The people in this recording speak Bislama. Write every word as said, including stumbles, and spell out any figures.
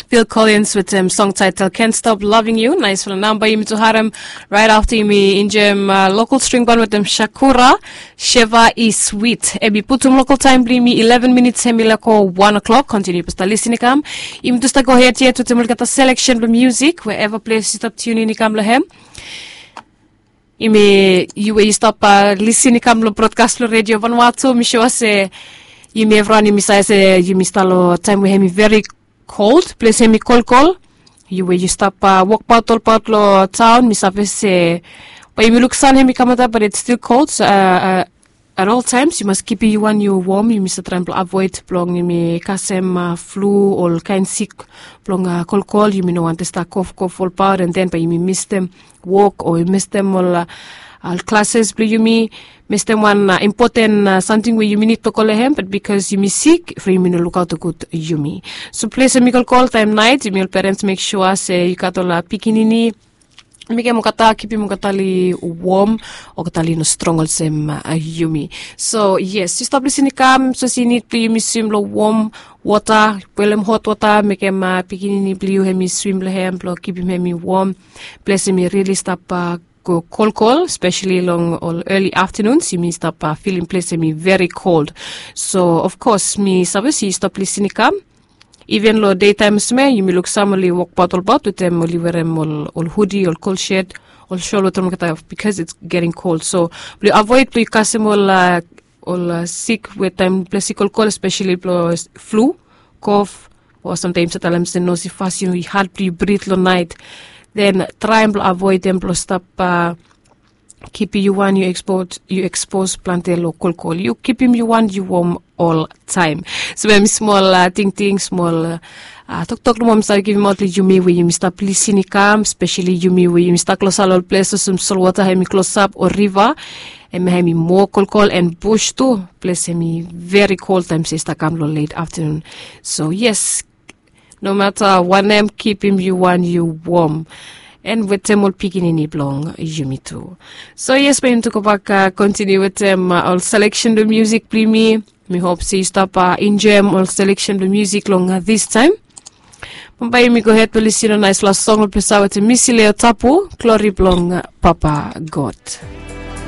Phil Collins wetem song title Can't Stop Loving You. Naisfala namba yumi tu harem. Right afta yumi injem uh, local string band wetem Shakura, Sheva is Sweet. Ebi putum local time bli yumi eleven minutes hemi lako one o'clock. Continue pasta listening kam. Yumi tu sta go ahead yet wetem olgeta selection bli music wherever place you stop tuning kam lehem. Yumi yu we yu stap uh, lisin i kam lo broadcast lo radio Vanuatu, mi sure se yumi evron yumi save se yumi stap lo time we hemi very cold, place hemi kolkol. Yu we yu stap uh, walk about all about lo town, mi save se, but yumi look sun hemi kamata, but it's still cold. So, uh, uh, at all times you must keep you one you warm. Yumi sa try blo avoid blong yumi kasem uh, flu, all kind sick blong uh, kolkol. Yumi no want to start cough cough all about, and then but yumi miss them walk o i mestem ol uh, ol klases blong yumi, mestem wan uh, impoten uh, samting we yumi nid blong go long hem, bat bikos yumi sik fri yumi no lukaot gud yumi. So ples hemi kolkol taem naet, yumi ol perens mek sua se yu gat ol uh, pikinini, mekem olgeta kipim olgeta li wom, olgeta li no strong olsem uh, yumi. So yes, yu stap lisin i kam, so se yu nid blong yumi swim long wom wota, boelem hot wota, mekem uh, pikinini blong yu hemi swim long hem blong kipim hemi wom. Ples hemi rili stap uh, go kolkol, especially long ol early afternoons, yumi stap uh, filim ples hemi very cold. So of course mi save se yu stap lisin i kam. Even lo daytime sme yumi luk sam oli wokbaot olbaot wetem oli werem ol, ol hudi, ol cold shed, ol shol wetem olgeta, because it's getting cold. So blong avoid blong yu kasem ol uh, ol uh, sik we taem ples i kolkol, especially blong flu, kof, o samtaem sa talem se nosi fas yu had blong yu brit long naet. Then traem blong avoidem blong stap uh, kipim yu wan yu ekspos yu ekspos plante long kolkol. Yu kipim yu wan yu wom ol taem. So mi smol uh, tingting smol uh, uh, toktok nomo mi save givim aot long yumi we yumi stap lisin i kam, especially yumi we yumi stap klosap long ol ples olsem solwota hemi klosap o riva, hemi hemi moa kolkol and bush tu. Ples hemi very cold taem se i stap kam long late afternoon. So yes, no mata wanem, kipim yu wan yu wom, and wetem ol pikinini blong yumi tu. So yes, bae yumi tu gobak uh, continue wetem uh, ol selection blong music blong yumi. Mi hop se yu stap uh, enjoyem ol selection blong music long uh, this time. Bambae yumi go ahead blong lisin long naispela song blong pesa wetem Misi Leo Tapu, Glory blong uh, Papa God.